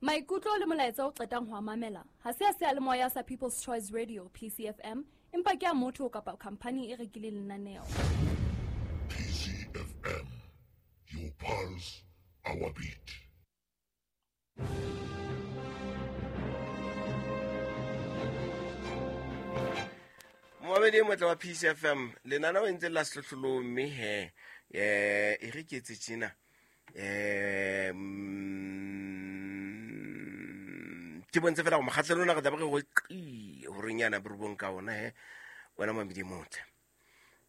Maikutlo le molaetsa o qetang ho a mamela ha se a seyalemoya sa People's Choice Radio PCFM empa ke a motho kapa khampani e rekileng lenaneo. PCFM, your pulse, our beat. Momamedi e motle wa PCFM, lenaneo e ntse la sehlohlolong mme he e re ke etse tjena. Ke bontshe fela go mokgatlhelo ona re tlabe re go qi horeng yana borobong ka ona he wena mamedi e motle.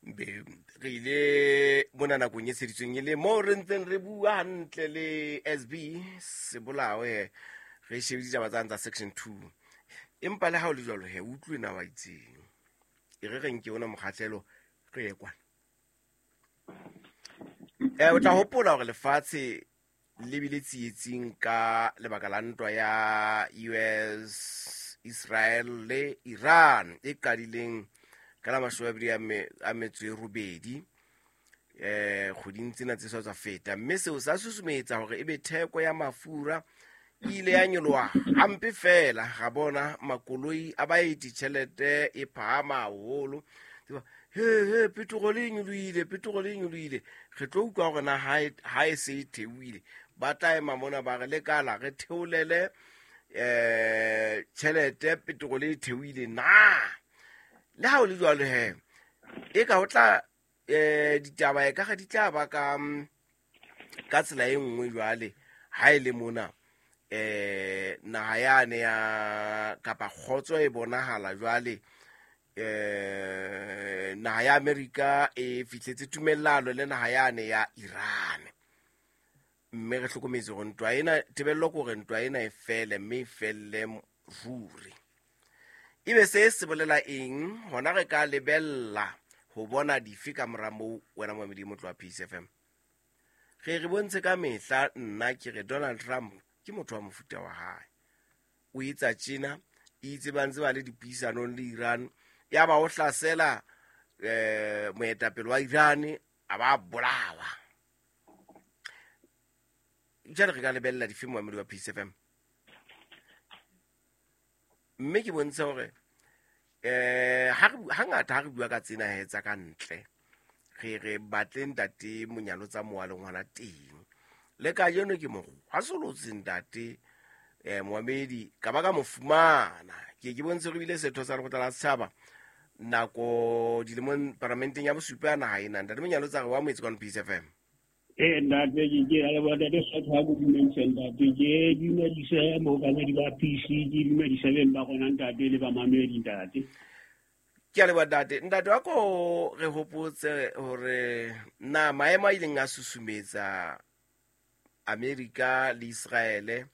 Be re ile mona nakong e tsheditsweng e le moo re ntseng re bua hantle le SB Sebolao he re shebile ditaba tsane tsa section 2. Empa le ha o le jwalo he utlwe na wa itseng. E re re nke ona mokgatlhelo re ye kwana. O tla hopola hore lefatshe le bile tsietsing ka lebaka la ntwa ya US, Israel le Iran e qadileng ka la mashome a mabedi a metso e robedi kgweding tsena tse sa tswa feta, mme seo sa susumetsa hore ebe theko ya mafura e ile ya nyoloha hampe fela. Ga bona makoloi a baeti tjhelete e phahama haholo. Tseba, he he petrol e nyolohile, petrol e nyolohile. Re tlo utlwa hore na ha e se e theohile, ba tla ema mona ba re lekala re theolele tjhelete, petrol e theohile na. Le ha o le jwalo he, e ka ho tla ditaba e ka ga di tla ba ka tsela e nngwe jwale ha e le mona naha yane ya kapa kgotso e bonahala jwale naha ya Amerika e fihletse tumellano le naha yane ya Iran, mme re hlokometse hore ntwa ena, tebello ke hore ntwa ena e fele, mme e felle ruri. Ebe se se bolela eng hona re ka lebella ho bona dife ka mora moo wena momamedi motlo wa Peace FM? Re re bontshe ka mehla, nna ke re Donald Trump ke motho wa mofuta wa hae. O etsa tjena, itse ba ntse ba le dipuisanong le Iran, ya ba o hlasela moetapele wa Iran a ba bolawa. Jwale re ka lebella dife momamedi wa Peace FM? Mme ke bontshe hore hangata ha re bua ka tsena he tsa ka ntle, re re batle ntate Monyalo tsa mowa le ngwana teng. Le kajeno ke mo hwasolotse ntate momamedi, ka ba ka mo fumana. Ke ke bontshe re bile setho sa lekgotla la setjhaba nako dilemong paramenteng ya bosupa ya naha ena. Ntate Monyalo tsa re wa moetse kwano Peace FM. Ntate, ke ke a leboha ntate Sotho ha dumedisa ntate, ke dumedise mookamedi ba PC, ke dumedise beng ba rona ntate le bamamedi ntate. Ke a leboha ntate. Ntate wa ko re hopotse hore na maemo a ileng a susumetsa Amerika le Israele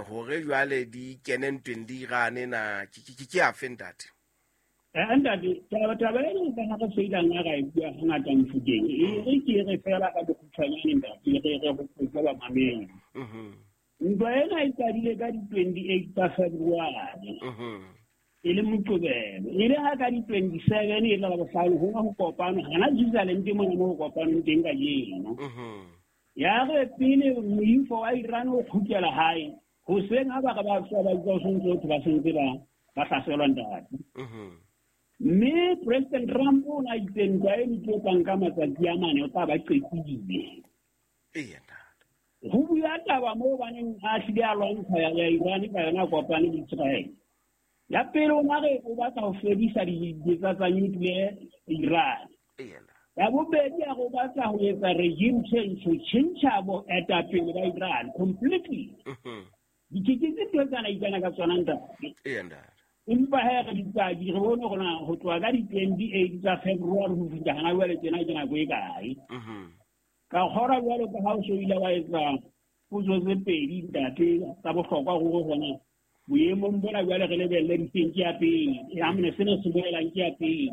hore jwale di kene ntweng le Iran na ke afe ntate? Ntate, taba ena ka ha re seilang a ra e bua hangata Mofokeng, e re ke re fela ka bokgutshwanyane ntate, re re hopotse bamamedi. Ntwa ena e qadile ka di-28 tsa February. E le Moqebelo. E le ha ka di-27 e le Labohlano ho ho kopano, hana Switzerland mona mo ho kopanong teng kajeno. Ya re pele moifo wa Iran o kgutlela hae, hoseng ha ba re ba tswa ba utlwa ho sontso ho thwe ba sentse ba hlaselwa ntate. Mme President Trump o na itse ntwa e tlo tlang ka matsatsi a mane o tla ba qetile. Eya ntate. Ho bua taba moo baneng a hlile a lwantsha ya Iran ka yona kopane le Israel. Ya pele o na re o batla ho fedisa dibetsa tsa nuclear Iran. Eya ntate. Ya bobedi a re o batla ho etsa regime change, ho tjhentjha boetapele ba Iran completely. Dikete tse ntho tsena ikana ka tsona ntate. Eya ntate. Empa he re dipaki re bone hore na ho tloha ka di-28 tsa February ho fihla hana jwale tjena ke nako e kae. Ka kgora jwalo ka ha o so ile wa etsa potso tse pedi ntate tsa bohlokwa hore hona boemong bona jwale re lebelle difeng ke ya pele. Ya mone sena se bolelang ke ya pele.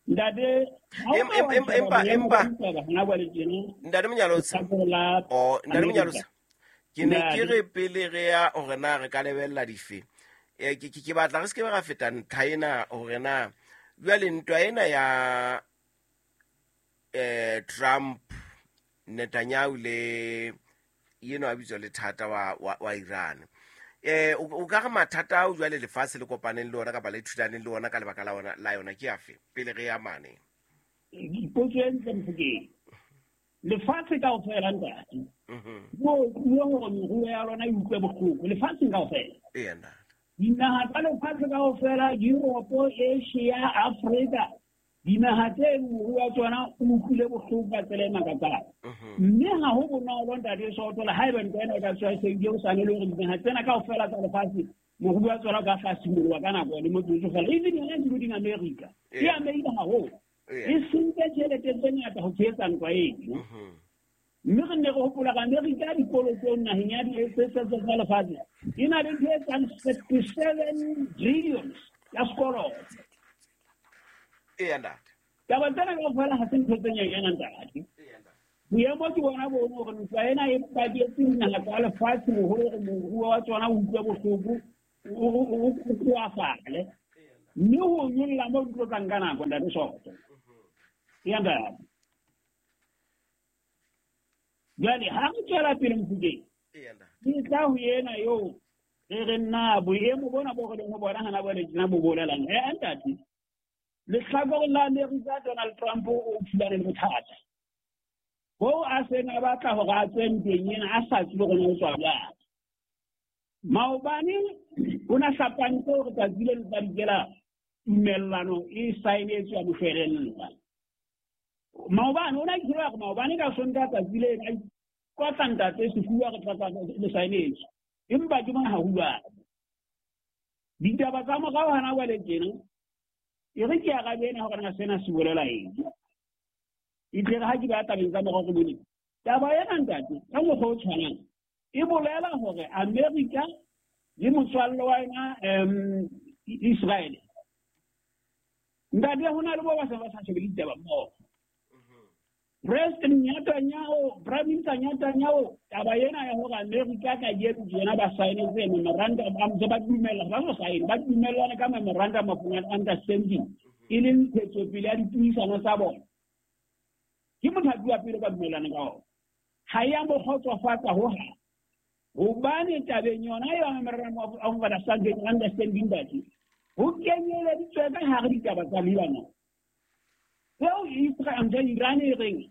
Ntate, ha o ka wa sheba boemo ba ditaba hona jwale tjena, Ntate Monyalotsi. lehlakore la Oh, Ntate Amerika. Monyalotsi. Ke ne ke Ntate. re pele re ya hore na re ka lebella dife. Ke batla re se ke be ra feta ntlha ena hore na jwale ntwa ena ya Trump, Netanyahu le Yeno a bitswa le thata wa Iran. O ka re mathata ao jwale lefatshe le kopaneng le ona kapa le thulaneng le ona ka lebaka la ona la yona ke afe pele re ya mane? Potso e ntle, Mofokeng. Lefatshe kaofela, ntate, mo hore meruo ya lona e utlwe bohloko lefatsheng kaofela. Eya, ntate. Dinaha tsa lefatshe kaofela, Europe, Asia, Africa, dinaha tse moruo wa tsona o utlwile bohloko ka tsela e makatsang. Mme ha ho bonolo, ntate Soto, le haeba ntwa ena e ka tswa e o sane le hore dinaha tsena kaofela tsa lefatshe moruo wa tsona o ka hlasimoloha ka nako le motsotso fela. Even yona including America e amehile haholo, e sentse tjhelete tse ngata ho tshehetsa ntwa eno. Mme re nne re hopola ka Amerika dikolotong naheng ya tsa lefatshe e na le ntho e etsang 37 trillions ya sekoloto. Eya, ntate. Taba tsena kaofela ha se ntho tse nyenyana, ntate. Boemo ke bona bono hore ntwa ena e baketse dinaha tsa lefatshe boholo hore moruo wa tsona o utlwe bohloko, o koafale, mme ho nyolla mo di tlo tlang ka nako, ntate Soto. Ya, ntate. Jwale ha re tswela pele, Mofokeng, ke tla ho ena eo re re nna boemo bona bo re leng ho bona hana jwale tjena bo bolelang. Ntate, lehlakoreng la Amerika, Donald Trump o thulane le bothata boo a seng a batla hore a tswe ntweng ena a sa tsebe hore na o tswa jwang. Maobane o na hlapantse hore tsatsi le le tla dikela tumellano e saenetswe ya moshwelella. Maobane o na kile hore maobane ka Sontaha tsatsi leno a ikotla ntate sefuba re tla le saenetswe, empa ke bona ha ho jwalo. Ditaba tsa morao hana jwale tjena e re ke arabe ena hore na sena se bolela eng. E tle re ha ke ba tabeng tsa morao re bone taba ena, ntate, ka mokgwa o tshwanang e bolela hore America le motswalle wa yona Israel, ntate, ho na le bo ba se ba sa shebe ditaba mmoho. President Netanyahu, Prime Minister Netanyahu, taba ena ya hore America kajeno tjena ba saenetse memorandum, a ntse ba dumella ba so saene, ba dumellane ka memorandum of understanding e leng ntshetsopele ya dipuisano tsa bona, ke mothapi wa pele ba dumellane ka ona. Ha ya mo kgotsofatsa hohang, hobane tabeng yona ya memorandum of understanding ntate, ho kenyeleditswe ka hare ditaba tsa Lebanon tseo Israel ntse Iran e reng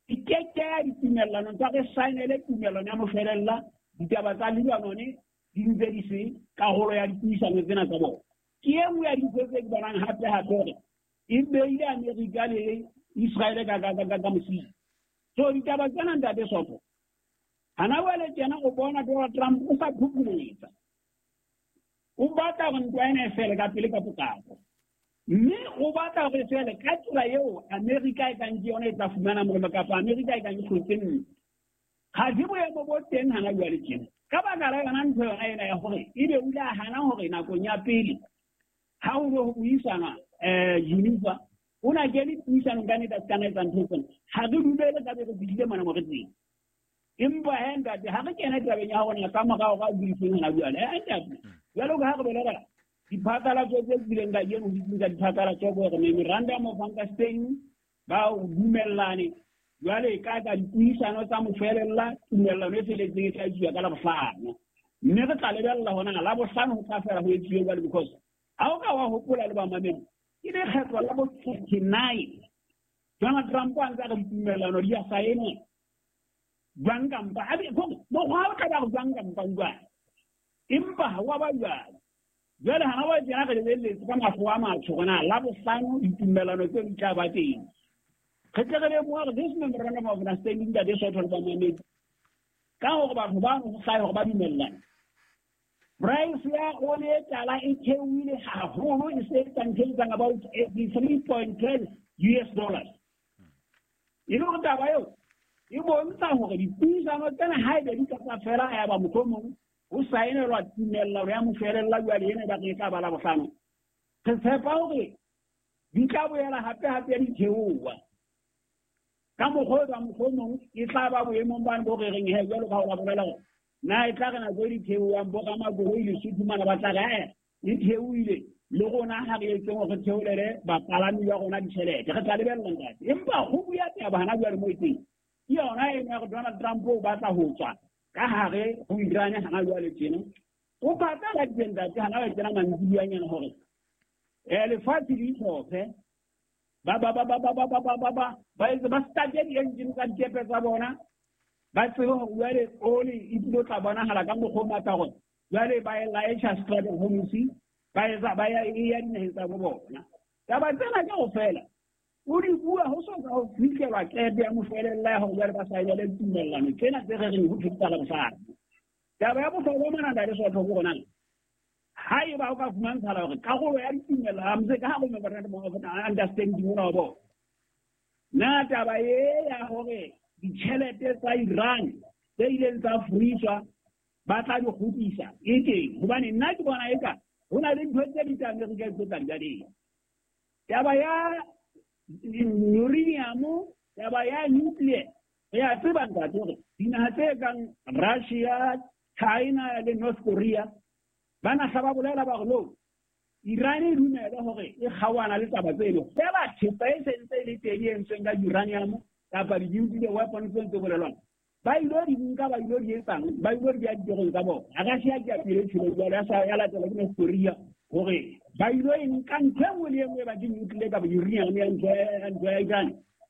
e keke ya ditumellanong tsa re saenele tumellano ya moshwelella ditaba tsa Lebanon di ntse di se karolo ya dipuisano tsena tsa bona. Ke e nngwe ya dintho tse ke bonang hape hape hore e beile Amerika le Israel ka mosidi. So ditaba tsena, ntate Soto, hana jwale tjena o bona Donald Trump o sa phuphuletsa, o batla hore ntwa ena e fele ka pele ka potlako, mme o batla hore e fele ka tsela eo Amerika e kang ke yona e tla fumana molemo kapa Amerika e kang e hlotse ntwa. Ga se boemo bo teng hana jwale tjena ka baka la yona ntho yona ena ya hore ebe o ile a hana hore nakong ya pele ha ho ne ho buisana Geneva o na kene puisanong ka nnete a se ka na etsa ntho tsena. Ha re dumele ka be re fihlile mona mo re teng. Empa he, ntate, ha re kene tabeng ya hore ka morao ka buiseng hona jwale, ntate, jwalo ka ha re bolela diphatlalatso tse tswileng kajeno ho ditseng tsa diphatlalatso hore memorandum of understanding ba o dumellane jwale ka dipuisano tsa mofelella tumellano e feletseng e tla etsuwa ka Labohlano, mme re tla lebella hona Labohlano ho tla fela ho etsuwe jwale, because ha o ka wa hopola le bamamedi ke lekgetlo la bo 39 Donald Trump a ntse a re ditumellano di a saenwa jwang kampa mokgwa o tla ba re jwang kampa jwang, empa ha wa ba jwalo. Jwale hana wa tjena re lebelletse ka mahlo a matsho hore na Labohlano ditumellano tseo di tla ba teng. Re tle re lemoha hore this memorandum of understanding, ntate Soto le bamamedi, ka hore batho bano ho hlahe hore ba dumellane, price ya ole e tala e theohile haholo, e se etsang ntho e etsang about 83.10 US dollars. E le hore taba eo e bontsha hore dipuisano tsena haebe di ka tsa fela ya ba mohlomong ho saenelwa tumellano ya moshwelella jwale ena e ba re e tla ba Labohlano, re tshepa hore di tla boela hape hape di theoha ka mokgwa o ba mohlomong e tla ba boemong bane bo re reng he jwalo ka ho ba bolela hore na e tla re nako e di theohang bo ramakoloi Lesotho mana ba tla re e theohile le rona ha re etseng hore re theolele bapalami ba rona ditjhelete. Re tla lebella, ntate, empa ho bua taba hana jwale mo e teng. Ke yona eno ya gore Donald Trump o batla ho tswa ka hare ho Iran hana jwale tjena. O phatlaladitse ntate hana ba tsena mantsibuanyana hore lefatshe le itlhophe ba ba ba ba ba ba ba ba ba ba etse ba starte di-engine tsa dikepe tsa bona, ba tsebe hore jwale oli e tlilo tla bonahala ka mokgwa o matla hore jwale ba e laetjha Strait of Hormuz, ba etsa ba ya e ya dinaheng tsa bo bona. Taba tsena kaofela o di bua ho so ka ho fihlelwa qeto ya moshwelella ya hore jwale ba saenele tumellano tsena tse re reng ho thwe tsa Labohlano. Taba ya bohlokwa mona ntate Sootho ke hore na haeba o ka fumantshala hore karolo ya ditumellano tse ka hare ho memorandum of understanding ona wa bona, na taba e ya hore ditjhelete tsa Iran tse ileng tsa furiswa ba tla di kgutlisa e teng, hobane nna ke bona eka ho na le ntho tse ding tsa Amerika e tlo tla di. Taba ya uranium, taba ya nuclear, re a tseba ntate hore dinaha tse kang Russia, China le North Korea ba nahla ba bolela ba re no, Iran e dumele hore e kgaohana le taba tseno, fela thepa e sentse e le teng e entsweng ka uranium kapa di-nuclear weapons tse ntse bolelwang, ba ilo di nka, ba ilo di etsang, ba ilo di beha ditorong tsa bona. Russia ke ya pele tjhelo jwale, ya latela ke North Korea hore ba ilo e nka ntho e nngwe le e nngwe e ba ke nuclear kapa uranium ya ntho ya Iran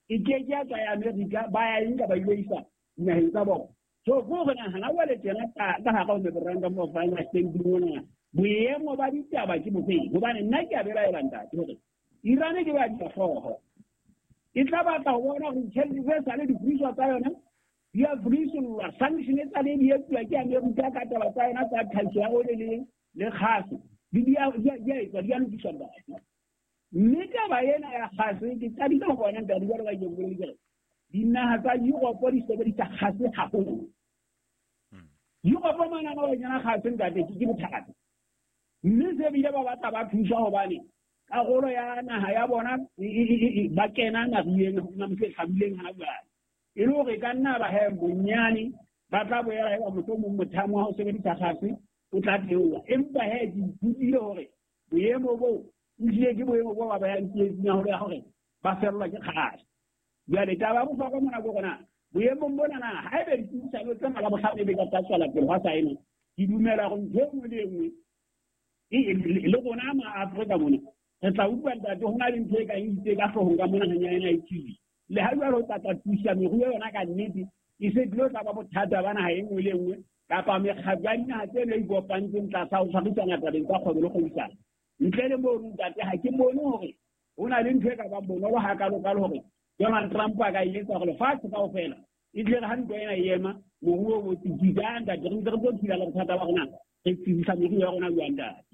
e ke ke ya tswa ya Amerika, ba ya e nka ba ilo isa dinaheng tsa bona. So ko re nahana jwale tjena ka hara ho memorandum of understanding ona, boemo ba ditaba ke bofeng? Hobane nna ke a belaela ntate hore Iran ke ba dihlooho, e tla batla ho bona hore ditjhelete tse sale di furiswa tsa yona di a furisollwa, sanction tsa le di etsuwa ke Amerika ka taba tsa yona tsa tlhahiso ya oli le kgase, di a etswa, di a lokiswa ntate. Mme taba ena ya kgase ke qadile ho bona ntate jwalo ka ke boletse ke re dinaha tsa Europe di sebedisa kgase haholo. Europe mona ba kena kgase ntate ke bothata, mme se bile ba batla ba thusa hobane karolo ya naha ya bona ba kena naheng se hlabileng hana jwale, e le hore ka nna ba he bonyane ba tla boela eba mohlomong mothamo wa ho sebedisa kgase o tla theoha. Empa he ke ithutile hore boemo boo ehlile ke boemo bo ba bayang tsietsing ya hore ba fellwa ke kgase. Jwale taba ya bohlokwa mona ke hore na boemong bona na haebe dipuisano tsena Labohlano e be ka tla tswela pele hwa saena, ke dumela hore ntho e nngwe le e nngwe le rona ma Afrika mona re tla utlwa ntate ho na le ntho e kang itse ka hloohong ka mona hanyane e tswile. Le ha jwale o tla tla thusa meruo yona ka nnete, e se tlilo tla ba bothata ba naha e nngwe le e nngwe kapa mekgatlo ya dinaha tseno e ikopantseng tlasa ho tshwarisana tabeng tsa kgwebo le kgwebisano. Ntle le mono ntate ha ke bone hore ho na le ntho e ka bang bonolo hakalo-kalo hore Donald Trump a ka e etsa hore lefatshe kaofela e tle re ha ntwa ena e ema, moruo o tsitsitse. Ntate re ntse re tlo phela le bothata ba rona, re tsitsisa meruo ya rona jwang ntate?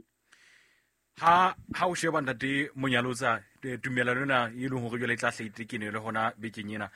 Ha o sheba ntate Monyalotsa, tumellano ena e leng hore jwale e tla hle e le hona bekeng ena,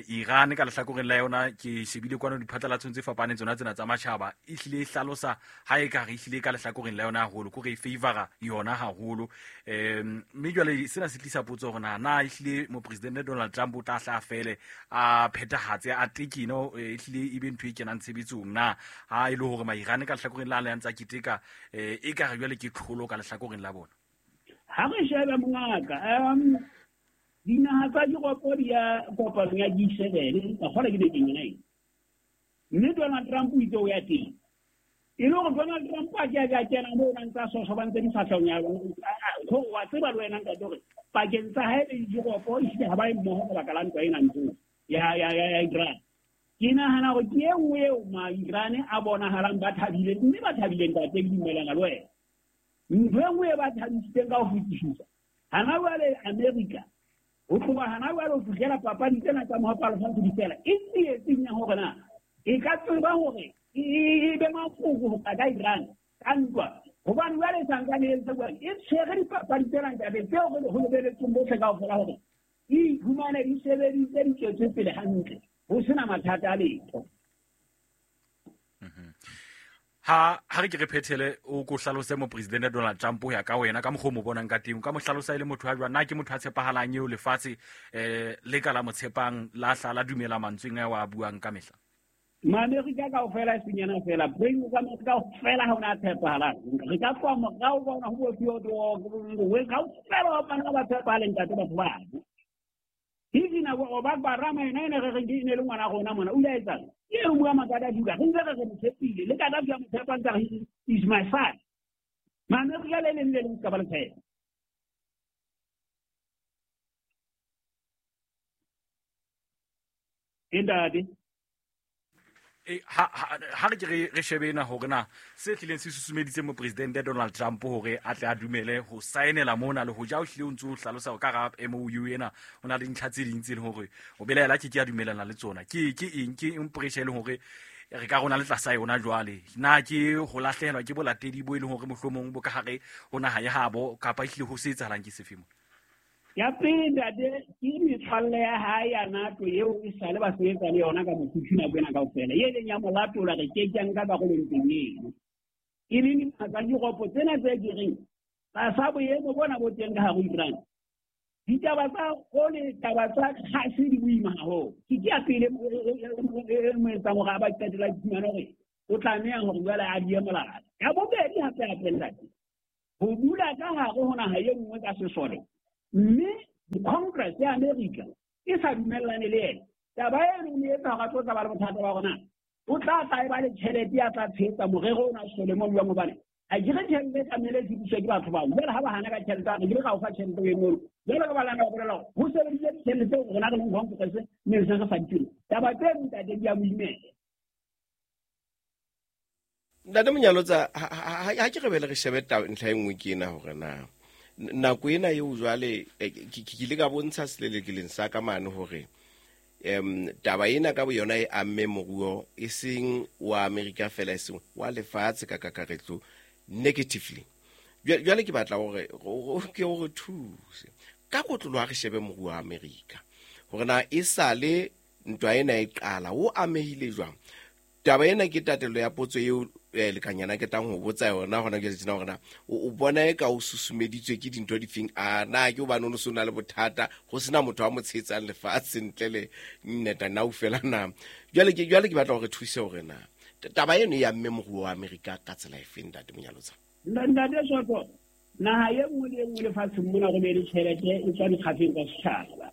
Iran ka lehlakoreng la yona ke shebile kwano diphatlalatsong tse fapaneng tsona tsena tsa matjhaba, e hlile e hlalosa ha e ka re ehlile ka lehlakoreng la yona haholo, ke hore e favora yona haholo. Mme jwale sena se tlisa potso hore na ehlile mopresidente Donald Trump o tla hla a fele a phethahatse a tekeno, ehlile e be ntho e kenang tshebetsong na, ha e le hore ma-Iran ka lehlakoreng la le a ntsa keteka, e ka re jwale ke tlholo ka lehlakoreng la bona. Ha re shebe mongaka, dinaha tsa Europe di ya kopanong ya G7 ka kgola ke bekeng ena ena. Mme Donald Trump o itse o ya teng. E le hore Donald Trump a ke a kena moo na ntsa sosobantse difahlehong ya bona. Ho wa tseba le wena ntate hore pakeng tsa hae le Europe ehlile ha ba e mmoho ka baka la ntwa ena ntho ya Iran. Ke nahana hore ke e nngwe eo ma-Iran a bonahalang ba thabile, mme ba thabile ntate, ke dumellana le wena. Ntho e nngwe e ba thabisitseng ka ho fetisisa hana jwale Amerika, ho tloha hana jwale ho fihlela papadi tsena tsa mohapo wa lefatshe di fela, e tsietsing ya hore na e ka tseba hore e be mafoko ho tla ka Iran ka ntwa, hobane jwale santsane e entse jwang, e tshwere dipapadi tsena ntate tseo re ho lebeletseng bohle kaofela hore e iphumane di sebeditse di tswetse pele hantle ho sena mathata a letho. Ha re ke re phethele, o ko hlalose mopresidente Donald Trump ho ya ka wena ka mokgwa o mo bonang ka teng, o ka mo hlalosa e le motho a jwang? Na ke motho a tshepahalang eo lefatshe le ka la mo tshepang, la hla la dumela mantsweng ao a buang ka mehla? Maamerika kaofela e senyana fela, Prince Amerika kaofela ha ona a tshepahalang. Re ka tloha morao bona ho bo Theodore, kaofela ba bana ba tshepahaleng ntate batho bano. Even o ba rama ena ene re reng ke ne le ngwana rona mona o ile etsang ke e bua Makadafi ka re ntse re mo tshepile le Kadafi a mo tshepang ka is my son. Maamerika le leng le leng ka ba le tshepa. Ntate ha re ke re shebe ena hore na se tlileng se susumeditse mopresidente Donald Trump hore a tle a dumele ho saenela mona le ho ja o hlile o ntse o hlalosa ka ga MOU ena o na le dintlha tse ding tse leng hore o belaela ke a dumelana le tsona. Ke eng ke eng pressure e leng hore re ka rona le tlasa yona jwale? Na ke ho lahlehelwa ke bolatedi bo e leng hore mohlomong bo ka hare ho naha ya habo kapa ehlile ho se etsahalang ke sefe mona? Ya pele ntate ke metswalle ya hae ya NATO eo e sale ba sebetsa le yona ka mofuthu nako ena kaofela, e leng ya molatola re ke ke nka karolo ntweng eno. E leng dinaha tsa Europe tsena tse ke reng tlasa boemo bona bo teng ka hare ho Iran, ditaba tsa ole taba tsa kgase di boima haholo. Ke ya pele e mo etsang hore a ba qetela iphumana hore o tlameha hore jwale a die molala. Ya bobedi hape hape ntate, ho dula ka hare ho naha e nngwe ka sesole mme di-Congress ya America e sa dumellane le ena. Taba eno e etsa hore a tlo tla ba le bothata ba rona. O tla tla e ba le tjhelete ya tla tshehetsa morero ona sesole mono jwang, hobane ha ke re tjhelete e tlamehile e sebediswe ke batho bao. Jwale ha ba hana ka tjhelete, re ke re ra o fa tjhelete e mono. Jwale ka balana ba bolela hore ho sebediswe ditjhelete tseo rona re leng Congress mme re se re sa di tsebe. Taba tse ntate di a mo imela. Ntate Monyalotsa, ha ke re bele re shebe ntlha e nngwe ke ena hore na nako ena eo jwale ke ile ka bontsha selelekeleng sa ka mane hore taba ena ka boyona e amme moruo e seng wa Amerika fela, e seng wa lefatshe ka kakaretso negatively. Jwale ke batla hore ke hore thuse ka kotlolo ha re shebe moruo wa Amerika hore na e sale ntwa ena e qala o amehile jwang. Taba ena ke tatelo ya potso eo lekanyana ke tlang ho botsa yona hona jwale tjena hore na o bona e ka o susumeditswe ke dintho difeng? A na ke hobane o no se o na le bothata ho sena motho a mo tshehetsang lefatshe ntle le Netanyahu fela na? Jwale ke batla hore thuse hore na taba eno ya mme moruo wa Amerika ka tsela efeng, Ntate Monyalotsa? Ntate Soto, naha e nngwe le e nngwe lefatsheng mona go be le tjhelete e tswa dikgafeng tsa setjhaba.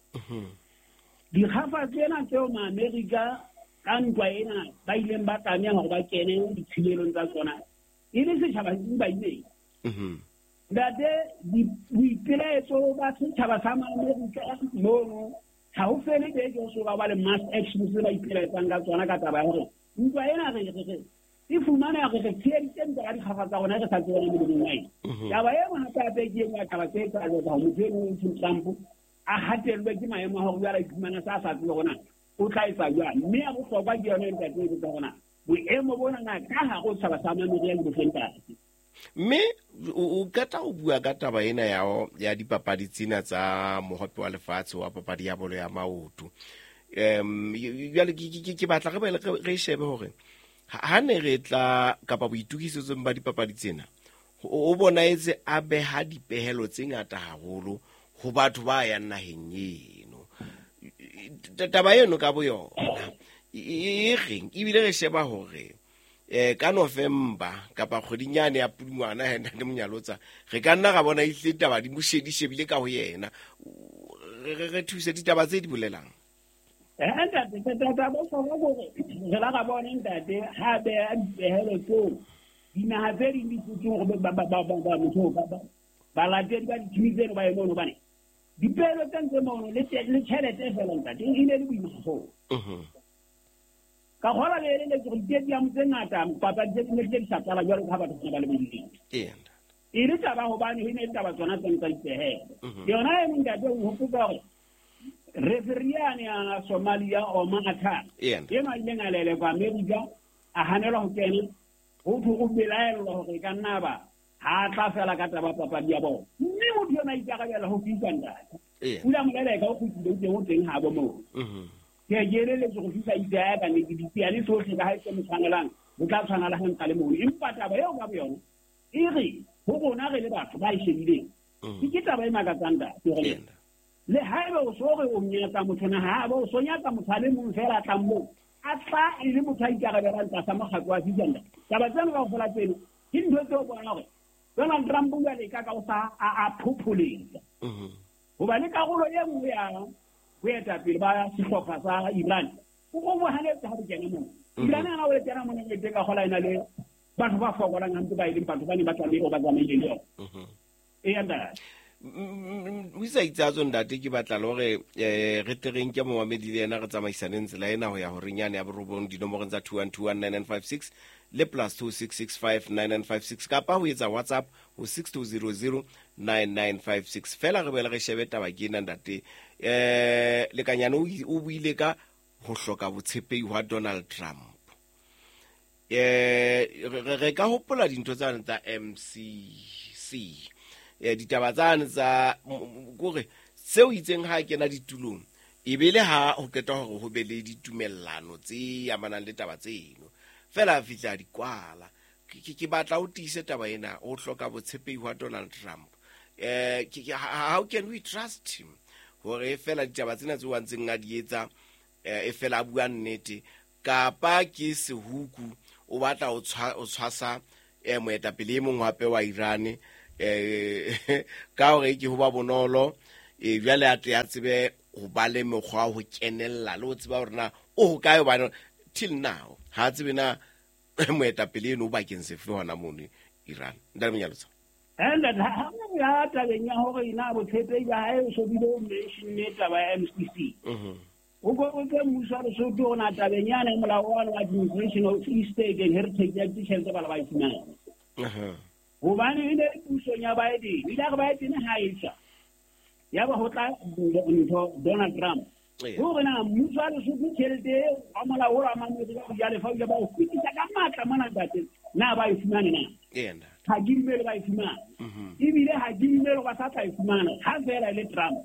Dikgafa tsena tseo Maamerika ka ntwa ena ba ileng ba tlameha hore ba kene dithibelong tsa tsona e le setjhaba se ba ileng. Ntate, boipelaetso ba setjhaba sa Maamerika mono ha ho fele beke ho so ba le mass action tse ba ipelaetsang ka tsona ka taba ya hore ntwa ena re e fumana re tsheheditse ntwa ka dikgafa tsa rona re sa tsebana molemong wa eng. Taba e nngwe hape hape ke e nngwe ya taba tse tsa jwetsa hore motho eno o Trump a hatellwe ke maemo a hore jwale a iphumana sa sa tsebe hore na o tla etsa jwang. Mme ya bohlokwa ke yona ntate e botsa hore na boemo bona na ka hare ho setjhaba sa Amerika ke bofeng ntate. Mme o qeta ho bua ka taba ena ya dipapadi tsena tsa mohope wa lefatshe wa papadi ya bolo ya maoto. Jwale ke batla re boele re shebe hore ha ne re tla kapa boitokisetsong ba dipapadi tsena o bonaetse a beha dipehelo tse ngata haholo ho batho ba yang naheng eno. Taba eno ka boyona e reng ebile re sheba hore ka November kapa kgweding yane ya Pudungwana ha Ntate Monyalotsa re ka nna ra bona ehlile taba di mo shebile ka ho yena. Re thuse ditaba tse di bolelang. Ntate, taba bohlokwa hore re la ra bona ntate ha beha dipehelo tseo dinaha tse ding di tsotseng hore ba balatedi ba dithimi tseno ba ye mono, hobane dipehelo tse ntse mono le tjhelete fela ntate e ne le boima haholo. Ka kgola le eleletse hore di-stadium tse ngata papadi tse ding di sa qala jwalo ka ha batho ba le bodileng. E le taba hobane e ne le taba tsona tse tsa dipehelo. Yona e ntate o hopotsa hore referee yane ya Somalia Omar Atta eno a ileng a lelekwa Amerika a hanelwa ho kena, ho thwe o belaellwa hore e ka nna ba ha tla fela ka taba papadi ya bona. Mme motho yona a ikarabela ho FIFA ntate. O ile a mo leleka, o kgutlile, o teng o teng habo moo. Ke eleletse go FIFA itse ya ka nnete ditsiane tsohle ka ha e se mo tshwanelang, ho tla tshwana le ha ntsa le mono. Empa taba eo ka boyona e re ho rona re le batho ba e shebileng, ke taba e makatsang ntate hore le haeba o so re o nyatsa motho na ha ba o so nyatsa motho a le mong fela a tlang moo a tla e le motho a ikarabelang tlasa mokgatlo wa FIFA ntate. Taba tseno kaofela tseno ke ntho tseo bona hore Donald Trump o leka ka o sa a phopholetsa. Hobane karolo e nngwe ya Boetapele ba sehlopha sa Iran o go hanetse ha di kena moo. Iran ana o le kena mona ke ka gola ena le batho ba fokolang hampe ba ileng batho ba ne ba tlamehile ba tsamaile le yona. E ntate. O isa itsa ntate ke batla le hore re tle re nke momamedi le yena re tsamaisaneng tsela ena ho ya horeng yane ya borobong dinomorong tsa 21219956 le plus 26659956 kapa ho etsa WhatsApp ho 62009956. Fela re boele re shebe taba ke ena ntate. Lekanyane o buile ka ho hloka botshepehi hwa Donald Trump. Re ka hopola dintho tsane tsa MCC. Ditaba tsane tsa kore seo itseng ha kena ditulong e be le ha ho qeta hore ho be le ditumellano tse amanang le taba tseno fela a fihla di kwala. Ke batla o tiise taba ena o hloka botshepehi hwa Donald Trump. How can we trust him hore fela ditaba tsena tseo a ntseng a di etsa e fela a bua nnete kapa ke sehuku o batla o tshwasa moetapele e mong hape wa Iran ka hore ke ho ba bonolo jwale a tle a tsebe ho ba le mekgwa ho kenella le ho tseba hore na o hokae hobane till now ha tsebe na moetapele eno o bakeng sefe hona mono Iran. Ntate Monyalotsa. And ha ya tabeng ya hore ina botshepehi ba hae o so bile o mention taba ya MCC. O go ke mmuso wa Lesotho o na tabeng yana molao wa administration of estate and heritage ya ditjhelete ba la ba e fumana. Hobane e ne pusong ya Biden, ile re Biden ha e tswa. Ya ba ho tla ntho Donald Trump. Hore na mmuso wa Lesotho tjhelete wa molao wa mamedi ba ja lefa ba o fetisa ka matla mona ntate na ba e fumane na. Ha ke dumele ba e fumana. Ebile ha ke dumele ba sa tla e fumana ha fela le Trump.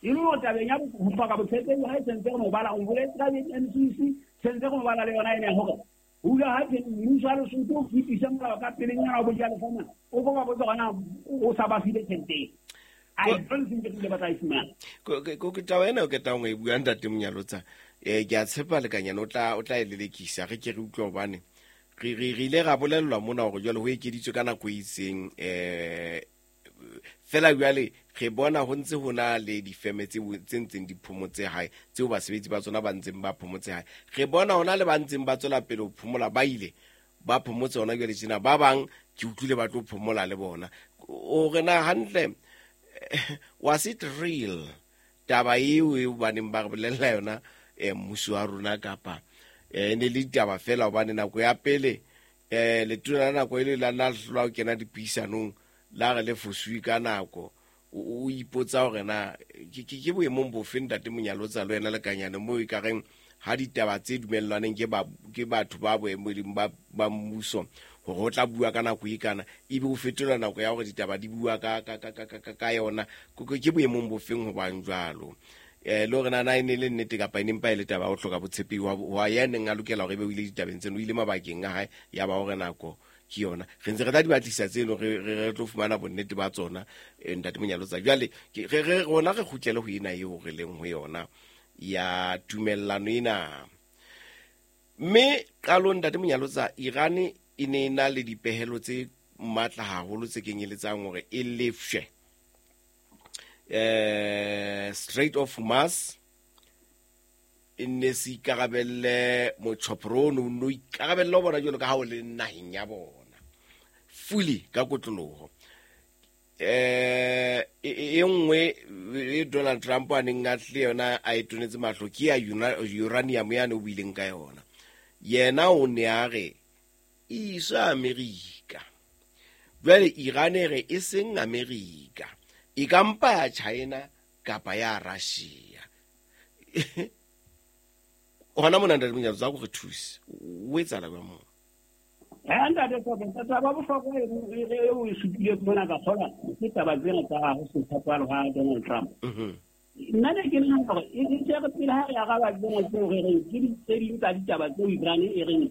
E le hore tabeng ya ho hloka botshepehi ha e sentse re mo bala o boletse ka MCC sentse re mo bala le yona ene hore hula ha ke mmuso wa Lesotho o fetisa molao ka pelenyana wa bojalefa mona o ko ba botsa hona o sa ba file tjhelete. I don't think ke ba tla e fumana. Ke taba ena o ketang ho e bua ntate Monyalotsa. Ke a tshepa lekanyane o tla e lelekisa re ke re utlwe hobane re ile ra bolellwa mona hore jwale ho ekeditswe ka nako e itseng fela jwale re bona ho ntse ho na le difeme tse ntseng di phomotse hae tseo basebetsi ba tsona ba ntseng ba phomotse hae. Re bona hona le ba ntseng ba tswela pele ho phomola ba ile ba phomotse hona jwale tjena ba bang ke utlwile ba tlo phomola le bona. O re na hantle was it real taba eo e baneng ba re bolella yona mmuso wa rona kapa ne le ditaba fela hobane nako ya pele letona la nako e le la hlolwa ho kena dipuisanong la re le fosuwe ka nako o ipotsa hore na ke boemong bofe ntate Monyalotsa le wena Lekanyane moo e ka reng ha ditaba tse dumellwaneng ke batho ba boemong ba mmuso hore ho tla bua ka nako e kana ebe o fetola nako ya hore ditaba di bua ka yona ke boemong bofeng hobang jwalo. Le hore na e ne le nnete kapa e ne mpa e le taba ho hloka botshepehi wa ya neng a lokela hore ebe o ile ditabeng tseno o ile mabakeng a hae ya ba hore nako ke yona re ntse re tla di batlisa tseno re tlo fumana bonnete ba tsona ntate Monyalotsa. Jwale re rona re kgutlele ho ena eo re leng ho yona ya tumellano ena. Mme qalong ntate Monyalotsa Iran e ne na le dipehelo tse matla haholo tse kenyeletsang hore e lefshwe Strait of Hormuz e ne se ikarabelle motjhoporo o no ikarabelle ho bona jwalo ka ha o le naheng ya bona fully ka kotloloho. E nngwe e Donald Trump a neng a tle yona a e tonetse mahlo ke ya uranium yane o buileng ka yona. Yena o ne a re iswa Amerika. Jwale Iran e re e seng Amerika e ka mpa ya China kapa ya Russia. Hona mona ntate Monyalotsa go re thuse o etsala jwang moo? Ntate taba bohlokwa e o e supile mona ka kgola ke taba tsena tsa ho se tshepahale ha Donald Trump. Nna ne ke nahana hore e tle re pele ha re araba tsena tseo re reng ke tse ding tsa ditaba tseo Iran e reng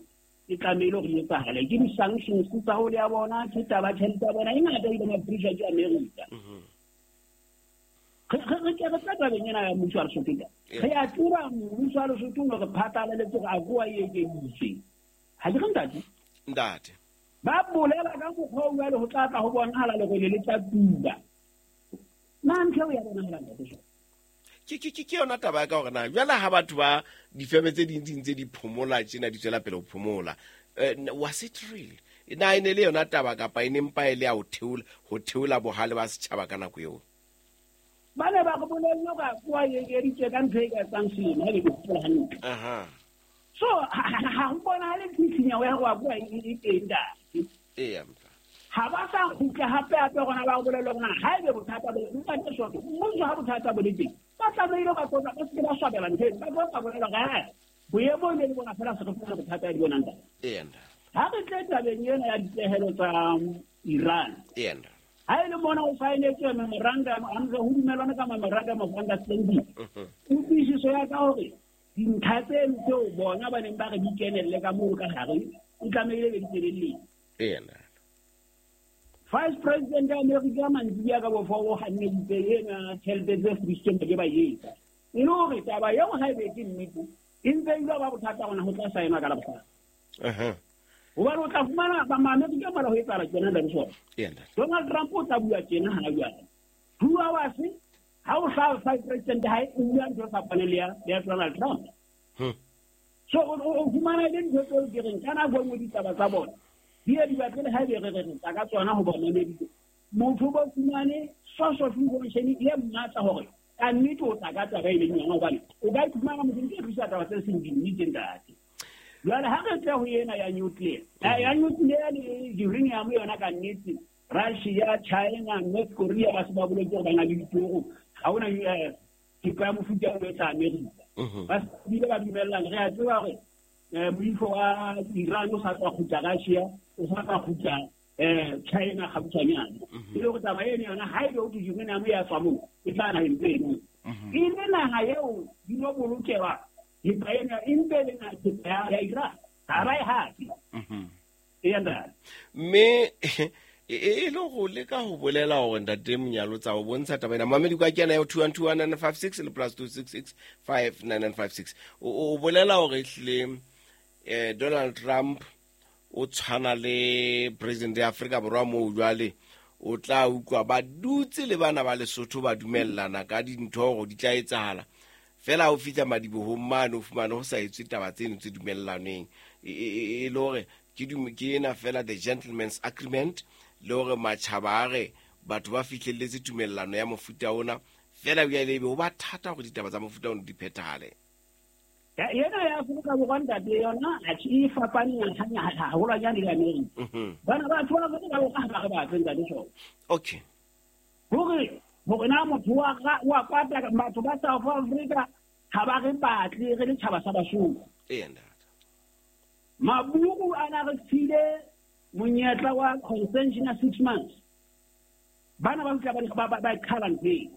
e tlamehile hore e etsahale ke di-sanctions tsa ho le ya bona ke taba tjhelete ya bona e ngata ile ma-pressure ke America. Re ke re tla tabeng ena ya mmuso wa Lesotho. Re a tseba mmuso wa Lesotho o re phatlaletse hore a koa e ekeditswe. Ha ke re ntate? Ntate. Ba bolela ka mokgwa o jwale ho tla tla ho bonahala lerole le tla tuba. Na ntho eo ya bonahala ntate? Ke yona taba ya ka hore na jwale ha batho ba difeme tse ding di ntse di phomola tjena di tswela pele ho phomola, was it real? Na e ne le yona taba kapa e ne mpa e le ya ho theola bohale ba setjhaba ka nako eo? Ba ne ba re bolelle hore AGOA e ekeditswe ka ntho e ka etsang selemo, ha ke hopola hantle. So ha ho bonahale tshisinyeho ya hore AGOA e teng ntate. Eya. Ha ba sa kgutla hape hape rona ba bolelle hore ha ebe bothata bo ntate Soto, mmuso ha bothata bo le teng, ba tlamehile ba tlotla, ba se ke ba swabela ntho eno, ba tlo ba bolela hore boemo ne le bona fela se re fumana bothata di bonang ntate. Eya. Ha re tle tabeng ena ya dipehelo tsa Iran. Eya. Ha e le mona o saenetswe memorandum, a ntse ho dumelwane ka memorandum of understanding. Kutlwisiso ya ka hore dintlha tseno tseo bona ba neng ba re di kenelle ka moo ka hare, o tlamehile be di kenelletse. Eya. Vice President ya Amerika mantsibuya ka bofo o hanneditse ena tjhelete tse fudisitsweng ba ke ba etsa. E le hore taba eo ha e be ke nnete, e ntse e ba bothata hona ho tla saenwa ka Labohlano. Hobane o tla fumana ba Maamerika mona ho etsahala tjena ntate Soto. Donald Trump o tla bua tjena ha jwale. 2 hours ha o hlaha Vice President hae o bua ntho e fapaneng le ya Donald Trump. So o fumana e le ntho tseo ke reng ka nako e nngwe ditaba tsa bona di ye di batle le ha ebe re re re tla ka tsona ho ba mameditse. Motho ba fumane source of information e matla hore ka nnete o tla ka taba e leng yona, hobane o ka iphumana motho ntse tlisa taba tse seng dinnete ntate. Jwale ha re tle ho ena ya nuclear, ya nuclear le uranium yona ka nnete, Russia, China, North Korea ba se ba boletse hore ba na le ditoro, ha hona thepa ya mofuta o etsa Amerika. Ba bile ba dumellana, re a tseba hore moifo wa Iran o sa tswa kgutla Russia, o sa tswa kgutla China kgautshwanyane. E le hore taba eno yona ha ebe ho thwe uranium ya tswa moo, e tla naheng tse eno. E le naha eo di no bolokelwa thepa ena, e mpe le naha thepa ya Iran, ha ba e hape. Eya ntate. Mme e le go leka ho bolela hore ntate Monyalotsa o bontsha taba ena. Mamedi kwa kena ya 2121956 le plus 2665956. O bolela hore ehlile Donald Trump o tshwana le president ya Afrika Borwa moo jwale o tla utlwa ba dutse le bana ba Lesotho ba dumellana ka dintho hore di tla etsahala. Fela o fihla madibohong mane o fumane ho sa etswe taba tseno tse dumellanweng. E le hore ke ena fela the gentleman's agreement, le hore matjhaba a re batho ba fihlelletse tumellano ya mofuta ona, fela jwale ebe ho ba thata hore ditaba tsa mofuta ona di phethahale. Yena ya Afrika Borwa ntate yona atjhe e fapane haholwanyane le Amerika. Bana batho ba Afrika Borwa ha ba re batle ntate Soto. Okay. Hore na motho wa kwata batho ba South Africa ha ba re batle re le tjhaba sa Basotho. Eya ntate. Maburu a na re file monyetla wa consension ya 6 months. Bana ba fihla ba qhala ntho eo.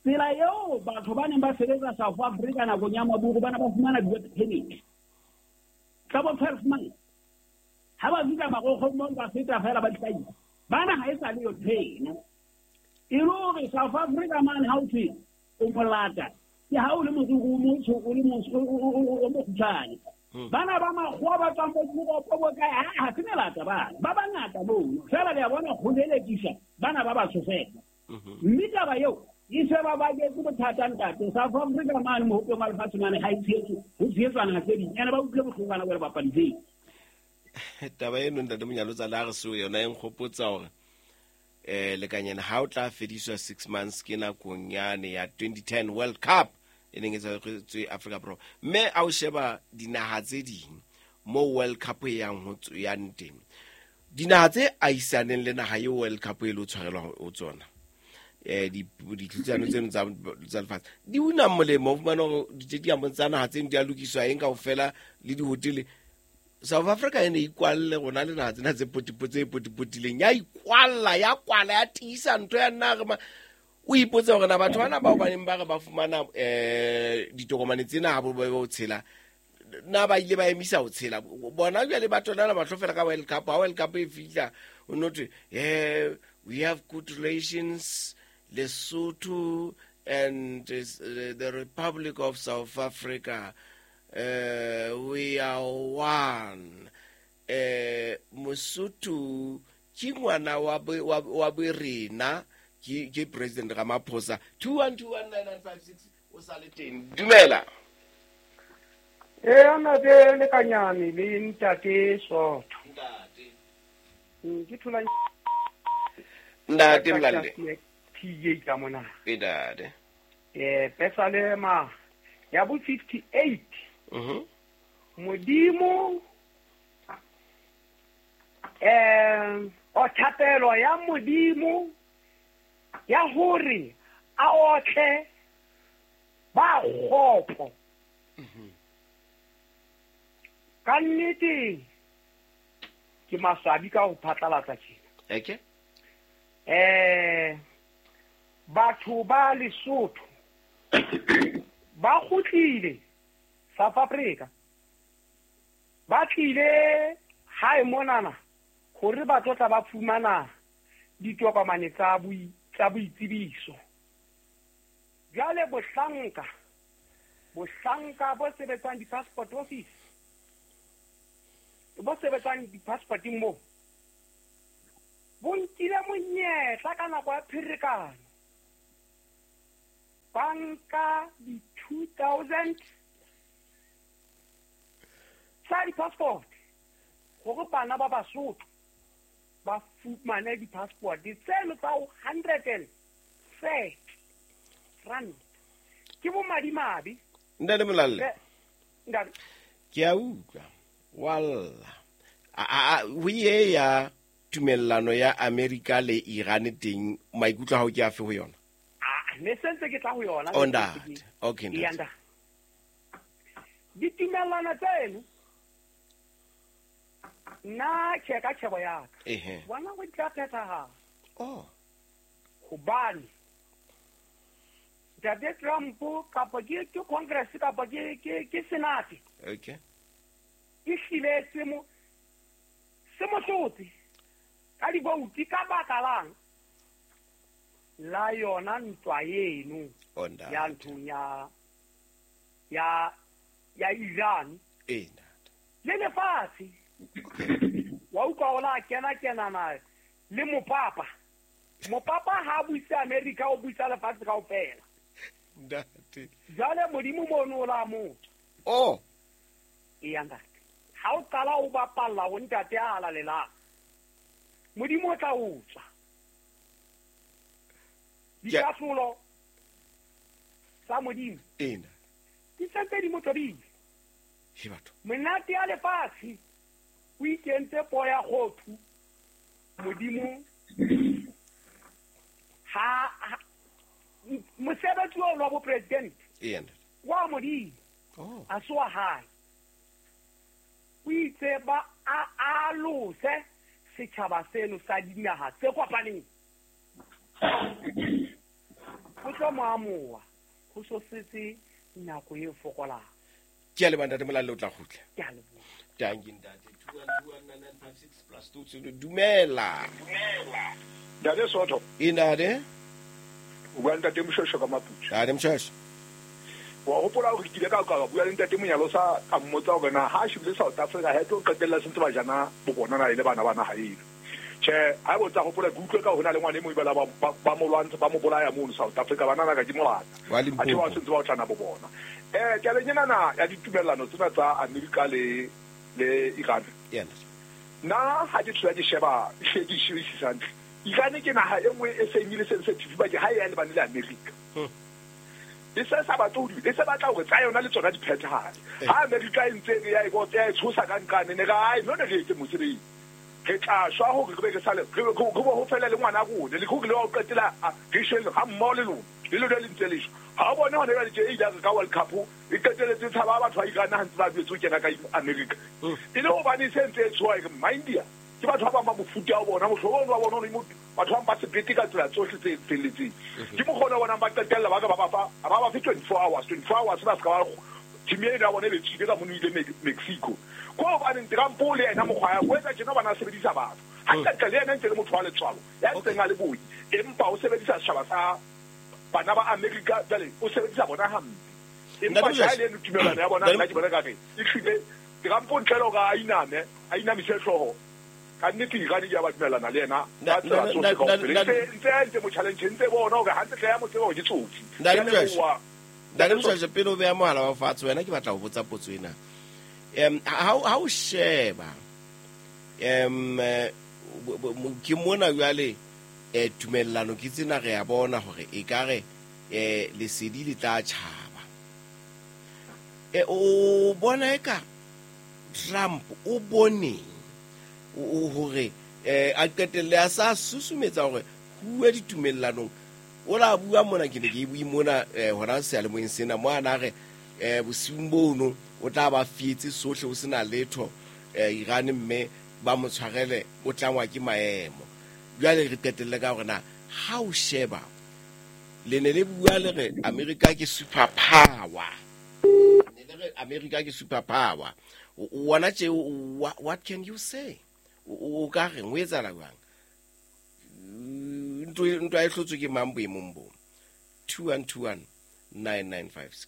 Tsela eo batho ba neng ba sebetsa South Africa nakong ya Maburu bana ba fumana di-work permit tsa bo 12 months. Ha ba fihla marokgong moo ba feta fela ba di hlahisa. Bana ha e sa le yo ntho eno. E le hore South Africa mane ha o thwe o molata, ke ha o le moriri o motsho, o le o mokgutshwane. Bana ba makgowa ba tswang bo Europe bo kae, ha se melata bana. Ba bangata mono. Fela le a bona ho lelekisa bana ba batsho fela. Mme taba eo e se ba baketse bothata ntate. South Africa mane mohopeng wa lefatshe mane ha e tshehetswe, ho tshehetswa naha tse ding. Ene ba utlwile bohloko bana ba le bapadi tseo. Taba eno ntate Monyalotsa le ha re seo yona e nkgopotsa hore lekanyana ha o tla fediswa 6 months ke nakong yane ya 2010 World Cup e neng e tshwaretswe Afrika Borwa. Mme a o sheba dinaha tse ding mo World Cup e yang ho yang teng, dinaha tse ahisaneng le naha eo World Cup e lo tshwarelwa ho tsona, ditlhodisano tseno tsa lefatshe di una molemo. O fumana hore di-stadium tsa naha tseno di a lokiswa eng kaofela le dihotele. South Africa e ne ikwalle rona le naha tsena tse tse potipotileng, ya ikwalla, ya kwala, ya tiisa ntho ya nna re o ipotse hore na batho bana bao ba neng ba re ba fumana ditokomane tsena ha bo ba ho tshela, na ba ile ba emisa ho tshela bona jwale ba tonana mahlo fela ka World Cup. Ha World Cup e fihla o no thwe we have good relations Lesotho and the Republic of South Africa, we are one. Mosotho ke ngwana wa borena, Ke President Ramaphosa. 21219956 o sa le teng. Dumela. E ana de lekanyane le ntate Sotho. Ntate. Ke thola Ntate Mlalle. TJ ka mona. E ntate. Pesalema ya bo 58. Modimo o thapelo ya Modimo ya hore a otle ba kgopo. Ka nnete ke maswabi ka ho phatlalatsa tjena. Okay. Batho ba Lesotho ba kgutlile South Africa, ba tlile hae monana hore ba tlo tla ba fumana ditokomane tsa boitsebiso. Jwale bohlanka bo sebetsang di-passport office, bo sebetsang di-passporting moo, bo nkile monyetla ka nako ya pherekano, ba nka di-2,000 tsa di-passport hore bana ba Basotho ba fumane di-passport tseno tsa 130 rand. Ke bo madimabe. Ntate Molalle. Ntate. Ke a utlwa. Walla. A ho ye ya tumellano ya America le Iran teng, maikutlo a hao ke afe ho yona? Ne sentse ke tla ho yona. Oh, ntate. Okay, ntate. Ditumellano tseno nna tjhe ka tjhebo ya ka. Bona go di tla phethahala. Oh. Hobane Ntate Trump kapa ke Congress kapa ke Senate. Okay. E hlile se mo hlotse ka dibouti ka baka lang la yona ntwa eno ya nthong ya Iran. Le lefatshe. Wa utlwa o la kena-kenana le mopapa. Mopapa ha buise America, o buisa lefatshe kaofela. Ntate. Jwale Modimo mono o la motho. Oh. Eya ntate. Ha o qala o bapalla ho ntate a halalelang, Modimo o tla o tswa. Dikahlolo tsa Modimo ena di sentse di mo tobile. He batho. Monate ya lefatshe o ikentse po ya kgothu. Modimo ha mosebetsi wa bo president wa Modimo a se wa hae. O itse ba a alose setjhaba seno sa dinaha tse kopaneng. Ho tlo mo amoha ho so setse nako e fokolang. Ke a leboha ntate Molalle, o tla kgutla. Ke a leboha. Dankie ntate. 2129956 plus 2. Dumela. Ntate Sotho. E ntate. O bua ntate Moshosho ka Maputswe. Ntate Moshosho. Wa hopola hore ke ile ka bua le ntate Monyalosa ka mmotsa hore na ha a shebile South Africa ha e tlo qetella se ntse ba jana bo bona na ile bana ba naha eno. Tjhe, ha e botsa hopola ke utlwe ka ho na le ngwana e mong ebela ba mo lwantsha ba mo bolaya mono South Africa, banana ka ke molata. Wa A tjhe ba se ntse ba otlana bo bona. Tabeng enana ya ditumellano tsena tsa America le Iran. Nna ha ke thola ke sheba hle ke shebisisa hantle. Iran ke naha e nngwe e seng e le sensitive bakeng ha e ya lebane le America. E se sa batle ho e se batla hore tsa yona le tsona di phethahale. Ha America e ntse e ya e botsa e tshosa ka nqane ne ra ai no ne re etse mosebetsi. Re tla shwa hore re be re sale re bo ho fela le ngwana rona le hore le wa qetela re shwele ha mmoho le lona le lona le ntse le shwa. Ha o bone hona jwale tje e ile ka World Cup e qeteletse tshaba batho ba Iran ha ntse ba duetse ho kena ka America. E le hobane e se ntse e tshoha e re India ke batho ba bang ba mofuta wa bona mohlomong wa bona o batho ba ba sebete ka tsela tsohle tse felletseng. Ke mokgona wa bona ba qetella ba ka ba fa ba ba fe 24 hours 24 hours ba ska ba team ena ya bona e be tswile ka mono ile Mexico. Ko hobane Trump le yena mokgwa ya o etsa tjena bana sebedisa batho. Ha qetella le yena ntse le motho wa letswalo ya ntseng a le boi empa o sebedisa setjhaba sa bana ba America jwale o sebedisa bona hampe. Empa ha le tumellano ya bona nna ke bona ka re e hlile Trump o ntle le hore a iname a inamise hlooho. Ka nnete Iran ke ya ba dumellana le yena ka tsela tsohle kaofela. Ntse a entse mo challenge, ntse bona hore hantle hle ya mo tseba hore ke tsotsi. Ntate Mshweshwe, Ntate Mshweshwe, pele o beha mohala wa fatshe wena ke batla ho botsa potso ena. Ha o sheba ke mona jwale tumellano ke tsena re ya bona hore e ka re lesedi le tla tjhaba. O bona eka Trump o boneng o hore a qetelle a sa susumetsa hore huwe ditumellanong. O la bua mona, ke ne ke bue mona hona seyalemoyeng sena mo ana re bosiung bono o tla ba fietse sohle o sena letho Iran mme ba mo tshwarele o tlangwa ke maemo. Jwale re qetelle ka hore na ha o sheba le ne le bua le re America ke super power. Ne le re America ke super power. Wona tje, what can you say? O ka reng o etsahala jwang? Ntwa e hlotswe ke mang boemong bo? 2121 9956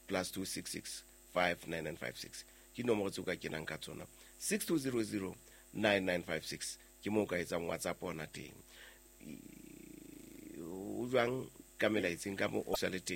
plus 266 59956 ke nomoro tseo ka kenang ka tsona. 6200 9956 ke moo ka etsang WhatsApp ona teng. O jwang ka melaetseng ka mo o sa le teng?